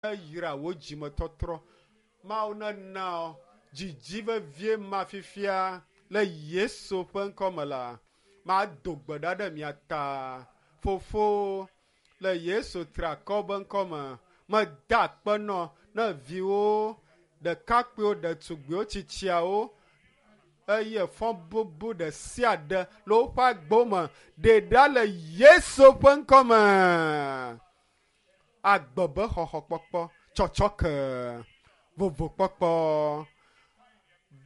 Neyra wò dzimetɔtrɔ. Mawu nena dzidzi vevie ma fifia le Yesu ƒe ŋkɔ me la, mado gbe ɖa ɖe mia ta. Fofo, le Yesu triakɔ be ŋkɔ me, meda akpe nɔ ne viwo, ɖekakpuiwo, ɖetugbiwo, tsitsiawo eye fɔ bubu ɖe sia ɖe le woƒe agbewo me ɖe ɖa le Yesu ƒe ŋkɔ me. Agbe be xɔxɔkpɔkpɔ, tsɔtsɔke, vovokpɔkpɔ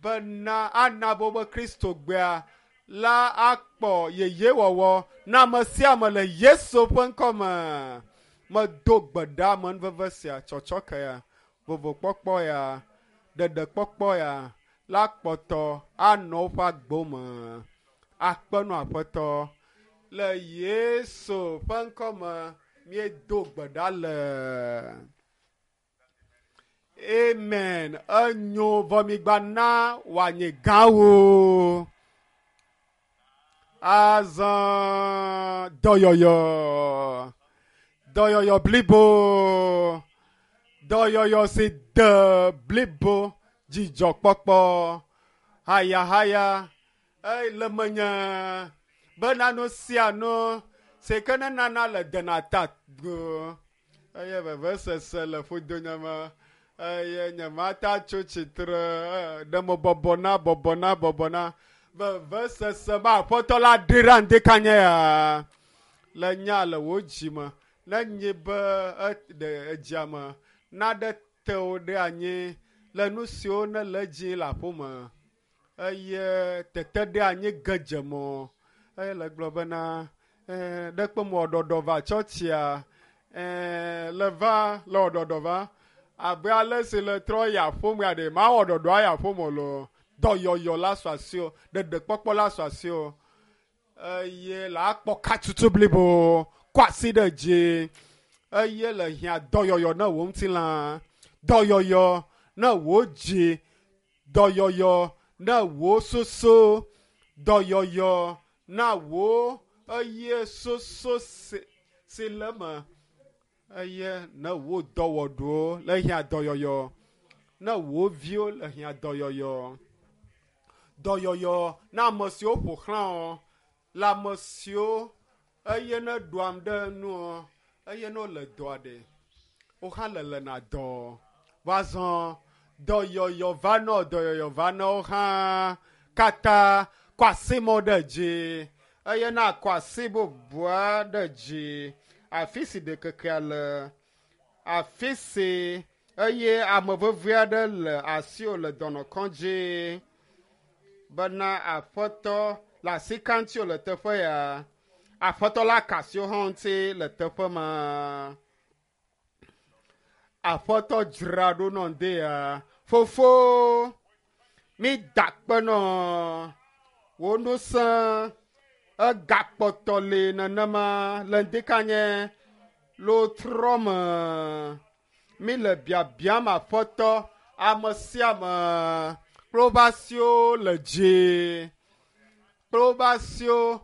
bena ana be wobe Kristo gbea la akpɔ yeyewɔwɔ na ame sia ame le Yesu ƒe ŋkɔ me. Medo gbe ɖa amenuveve sia, tsɔtsɔke ya, vovokpɔkpɔ ya, ɖeɖekpɔkpɔ ya la kpɔtɔ anɔ woƒe agbewo me. Akpe nɔ Aƒetɔ le Yesu ƒe ŋkɔ me míedo gbe ɖa le. Amen. Enyo vɔ migba na wòanye gãwo. Azɔ dɔyɔyɔ. Dɔyɔyɔ blibo. Dɔyɔyɔ si de blibo. Dzidzɔkpɔkpɔ. Hayahaya. Eye le menye bena nu sia nu si ke ne nana le dena ta go. Eye vevesese le ƒodonye me. Eye nyemata tso tsitre ɖe me bɔbɔna bɔbɔna bɔbɔna. Vevesese be Aƒetɔ la ɖi ɖa ŋdikanye ya. Le nya le wò dzi me. Ne nyi be ɖe edzia me naɖe te wò ɖe anyi le nu siwo ne le edzi le aƒeme. Eye tete ɖe anyi ge dze mɔ. Eye le gblɔ bena ɖe kpe mɔ ɖɔɖɔ va tsɔtsia. Le va le wɔɖɔɖɔ va. Abe ale si le trɔ yi aƒeme ya ɖe mawɔ ɖɔɖɔa yi aƒeme o loo. Dɔyɔyɔ la su asiwò, ɖeɖekpɔkpɔ la su asiwò. Eye le akpɔ katutu blibo, kɔ asi ɖe dzi. Eye le hiã dɔyɔyɔ ne wò ŋutilã, dɔyɔyɔ ne wò dzi, dɔyɔyɔ ne wò susu, dɔyɔyɔ na wò eye susu si le eme. Eye ne wò dɔwɔɖuwo le hiã dɔyɔyɔ, ne wò viwo le hiã dɔyɔyɔ, dɔyɔyɔ na ame siwo ƒo xlã wò, le ame siwo eye ne ɖuam ɖe nuɔ, eye ne wole dɔa ɖe, wo hã le lena dɔ. Va zɔ dɔyɔyɔ va nɔ, dɔyɔyɔ va nɔ wo hã katã kɔ asi mɔ ɖe dzi eye na kɔ asi bubua ɖe dzi. Afi si ɖekekea le, afi si eye ame vevie aɖe le asiwò le dɔnɔkɔdzi bena Aƒetɔ le asi ka ŋuti le teƒe ya. Aƒetɔ la ka asiwò hã ŋuti le teƒe ma. Aƒetɔ dzra ɖo nɔ ŋdi ya. Fofo, mi da akpe nɔ wò ŋusẽ egakpɔtɔ li nenema le ŋdikanye le wotrɔ me. Mi le biabiam Aƒetɔ ame sia ame kple woƒe asiwo le dzi, kple woƒe asiwo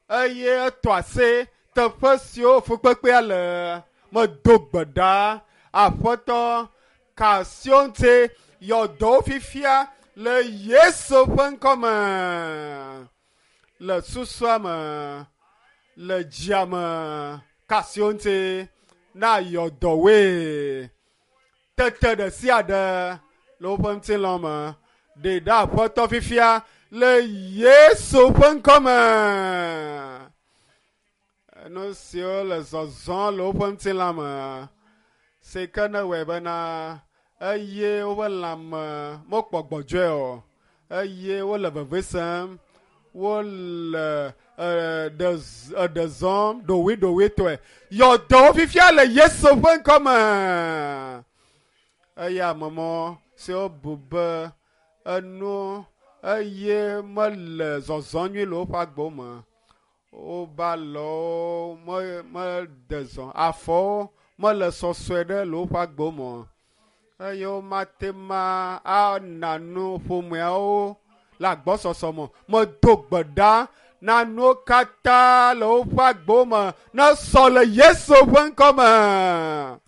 eye etɔ asi teƒe siwo fukpekpea le. Medo gbe ɖa Aƒetɔ ka asiwo ŋuti yɔ dɔwo fifia le Yesu ƒe ŋkɔ me. Le susua me, le dzia me, ka asiwo ŋuti na yɔ dɔwoe. Tete ɖe sia ɖe le woƒe ŋutilã me ɖe ɖa Aƒetɔ fifia le Yesu ƒe ŋkɔ me. Nu siwo le zɔzɔm le woƒe ŋutilã me si ke ne wɔe bena eye woƒe lãme mekpɔ gbɔdzɔe o eye wole veve sem, wole eɖe zɔm ɖoɖoeɖoɖoetɔe. Yɔ dɔwo fifia le Yesu ƒe ŋkɔ me. Eye amemɔ siwo bu be enu eye mele zɔzɔm nyui le woƒe agbewo me. Woba lɔwo mede zɔ, afɔwo mele sɔsɔe ɖe le woƒe agbewo me o. Eye womate ma ana nu ƒomeawo le agbɔsɔsɔ me. Medo gbe ɖa na nuwo katã le woƒe agbewo me ne sɔ le Yesu ƒe ŋkɔ me.